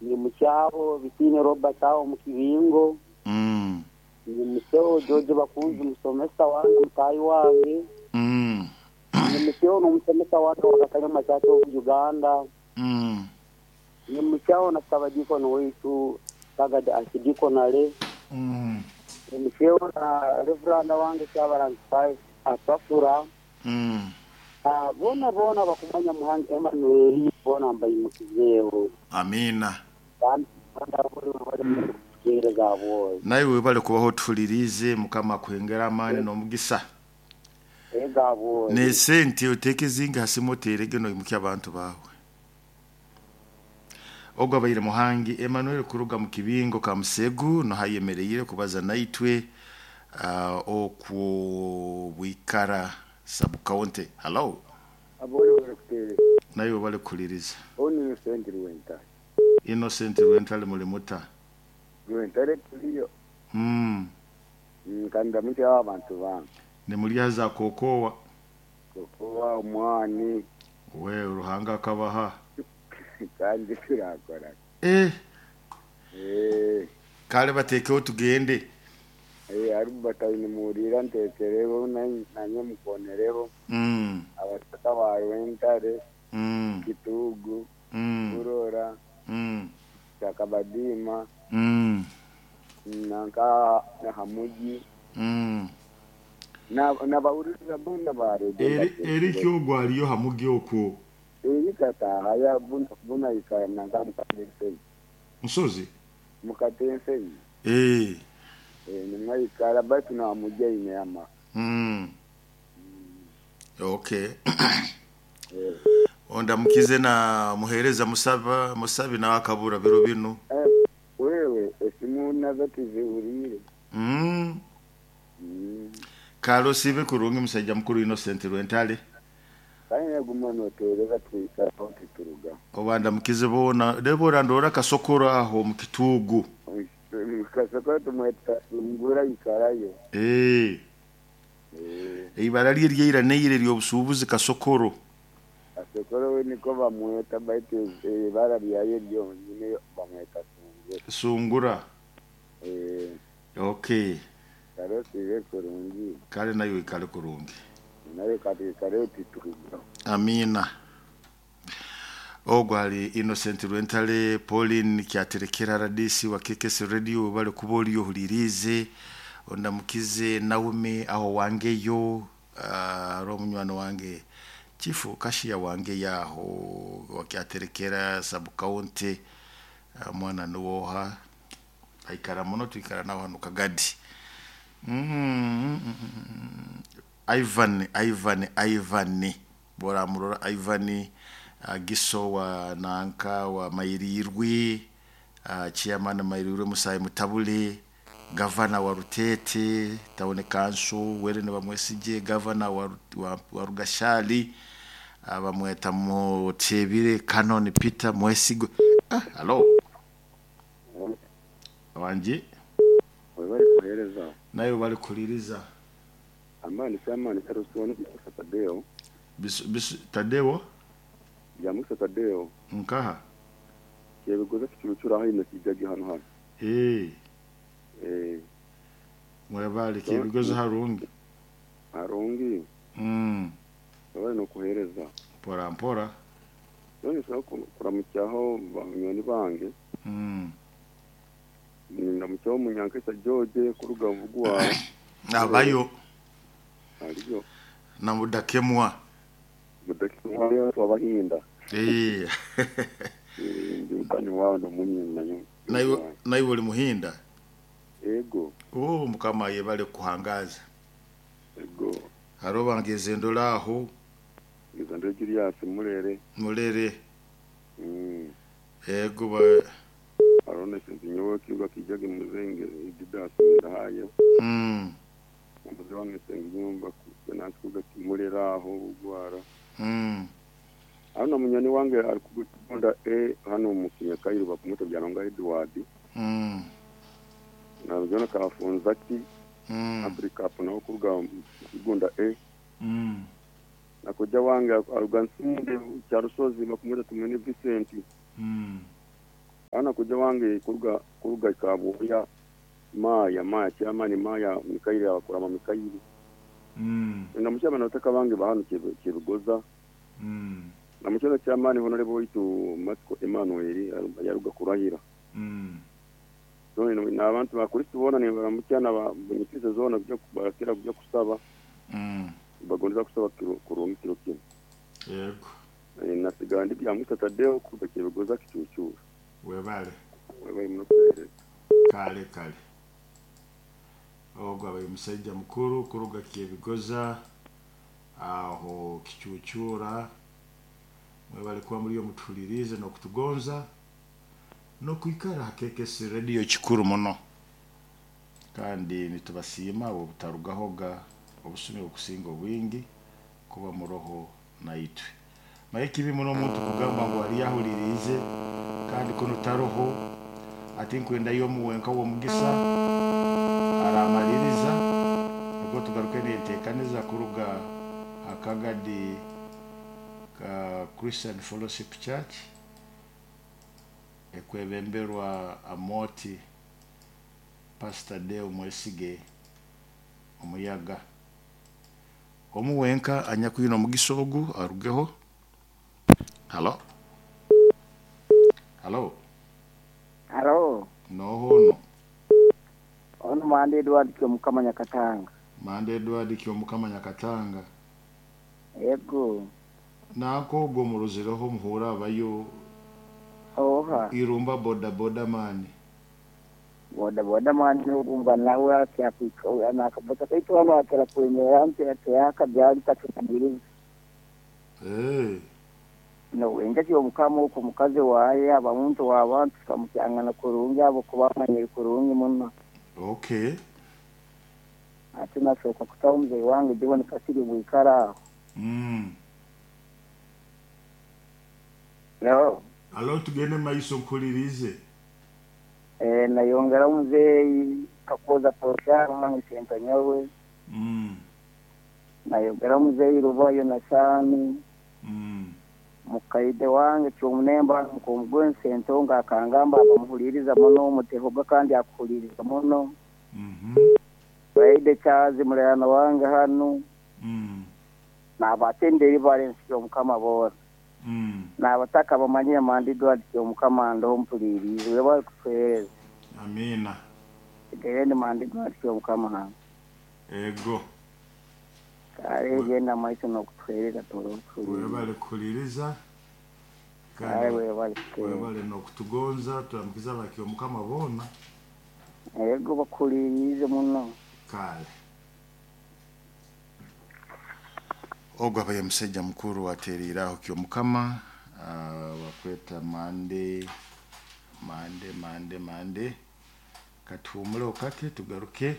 Nyimukyaho Bitiine Robert aho omu kibingo. Nyimukyeho George Bakunzi musomesa wange, mutaahi wange. Nyimukyeho n'omusomesa wange wa Katanyama Church of Uganda. Nyimukyaho na Ssabadiikoni waitu Sagadi Archidikonale. Nyimukyeho na Reveranda wange Kyabarangi Pius Asafura. Boona boona abakumanya Muhangi Emmanuel boona mbaimukizeeho. Amiina. Kandi aboli webale muno kutuheereza abwoyo. Naiwe webale kubaho otuhuliriize, Mukama akuhengere amaani n'omugisa. Ego abwoyo. N'esente oteeke ezingi ha simu oteerege noimukya abantu baawe. Ogu abaire Muhangi Emmanuel kuruga mu kibingo Kamusegu nuho ayemereire kubaza naitwe okwo Bwikara sub county. Hallo. Abori webale kuteereza. Naiwe webale kuhuliriza. Onu Innocent Rwentare. Innocent Rwentare muli muta? Rwentare turiyo. Kandi ndamukyeho abantu bange. Nimurya za kokowa? Kokowa, omwani. We Ruhanga akabaha. Kandi turakora. Eh. Eh. Kale batekeho tugende. Eh, Albert aine ntekereho nanye mukonereho. Abataka ba Rwentare, Kitugu, Burora, Kyakabadiima, nanka Hamugi. Nabahuririza boona ba Radio Eri ki ogwo ariyo Hamugi okwo? Eri katahaya buna ikara nanka Mukatensenyi. Nsozi? Mukatensenyi. Eh. Eh, nimwo aikara baitu na Hamugi aine amaka. Okay. Eh. Ondamukize na muhereza Musaba Musabi nawe akabura biro binu. Eh, wewe esimu nazo tizihuriire. Kale osiibe kurungi musaija mukuru Innocent Rwentale. Kandi naguma noteereza twikaraho tituruga. Oba ndamukize boona Debora ndoora Kasokoro aho mu Kituugu. Kasokoro tumweta Sungura ikarayo. Eh. Eh. Eibara rye ryeira neire ery'obusuubuzi Kasokoro. Kasokoro we niko bamweta baitu ibara ryaye ryonyine bamweta Sungura. Sungura. Eh. Okay. Kale osiibe kurungi. Kale nayo ikale kurungi. Nayo katwikare tituruga. Amina. Ogwo ali Innocent Rwentale, Pauline Kyaterekera RDC wa KKS Radio bali kuba oli ohuliriize ondamukize Naomi aho wangeyo uh, omunywani wange chifu kashiya wange yaho wa Kyaterekera sub county mwana nuwoha aikara muno twikara nawe hano Kagadi. Ivan Ivan Ivan boramurora Ivan Giso wa nanka wa Mairirwe, chairman Mairirwe Musayi Mutabule, gavana wa Rutete town council Werene Bamwesige, gavana wa Rugashali bamweta Mutebire Canon Peter Mwesigwe. Hello wanje. Webale kuhereza. Nayo bali kuliriza. Amani samani karusoni Musa Tadeo. Bis, bis, Tadeo. Ya Musa Tadeo. Nkaha Kyebigoza kicurucura hino kijagi hano hano. Eh. Eh. Mwebale Kyebigoza harungi. Harungi. Webale no kuhereza. Mpora mpora. None saba kuramukyaho banywani bange. Ndamukyaho Munyankesa George kuruga Mvugu wawe. Abayo. Ariyo. Na Mudakemwa. Mudakemwa yo twabahinda. Eh. Ndi mutani wawe ndo munyina nanyo. Naiwe uli muhinda? Ego. Oh, Mukama yebale kuhangaza. Ego. Haro bangeze ndola aho. Ngeze ndo Julius Murere. Murere. Ego ba Arone sinzi nyowe kibuga kijage muzenge Didas ndahayo. Umuze wange senga nyumba kusenansi kuga kimurera aho bugwara. Hano munyoni wange ari kugunda e hano mu Kinyakayiru bakumuta byanonga Edward. Na jona kafunza ki Africa hapo naho kuruga kigunda e. Nakoja wange aruga Nsimbe cya Rusozi bakumuta tumene Vincent. Ana kuja wange kuruga Kabuya Maya chairman Maya Mikaili abakurama Mikaili. Namukyaba nataka bange bahano kibigoza. Namukyaba chairman honorable waitu Matiko Emmanuel yaruga kurahira. So n'abantu ba Kristo bona ni baramukyana ba zona kujya barakira kujya kusaba. Bagondeza kusaba kurungi kiro kino. Yego. Nasigandi bya Musa Tadeo kuruga kibigoza kicucura. Webale. Webale muno. Kale kale. Ogwo abaye musajja mukuru kuruga Kyebigoza aho kicucura. Mwebale kuba muri yo mutulirize no kutugonza no kwikara hakekesi radio kikuru muno. Kandi nitubasiima abo butarugahoga obusumi okusinga obwingi kuba muroho naitwe. Maye kibi muno omuntu kugamba ngu ali yahulirize kandi kuno taroho ati nkwenda yo muwenka wo mugisa aramaliriza ubwo tugaruke n'enteekaniza kuruga akagadi ka Christian Fellowship Church ekwebemberwa Amoti Pastor Deo Mwesige omuyaga omuwenka anyakwina omugisa ogu arugeho. Halo. Halo. Halo. Nohono. Ono Mande Edward Kyomukama Nyakatanga. Mande Edward Kyomukama Nyakatanga. Yego. Nako ogwo muruzireho muhura abayo. Oha. Irumba boda boda mani. Boda boda mani ugumba nawe akyakwika nakabota kaitu hano akera kuemera nti yaka byali tatukubiriza. No wenga Kyomukama uko mukazi waye abamuntu wabantu kamukyangana kurungi abo kubamanyira kurungi muno. Okay. Ati nashoka kutaho mzee wange jibone kasiri bwikara. No. Alo tugende maiso nkulirize. Nayongera mzee kakoza posha wange senta nyawe. Nayongera mzee rubayo na sani. Mukaide wange kyomunemba mukomugwe sento nga akangamba abamuhuliriza muno mutehoga kandi akuhuliriza muno. Baide chazi muleyana wange hano. Nabatenderi Valence Kyomukama bora. Nabataka bamanyire Mande Edward Kyomukama ndo mpulirize webale kutuhereza. Amina. Gende Mande Edward Kyomukama hano. Ego. Kale genda maiso no kutuhereza toro. Webale kuhuliriza. Kale webale. Webale no kutugonza turamukiza Bakyomukama bona. Ego bakulirize muno. Kale. Ogwo abaye musajja mukuru atereraho Kyomukama wakweta Mande Mande Mande Mande katuhumule okake tugaruke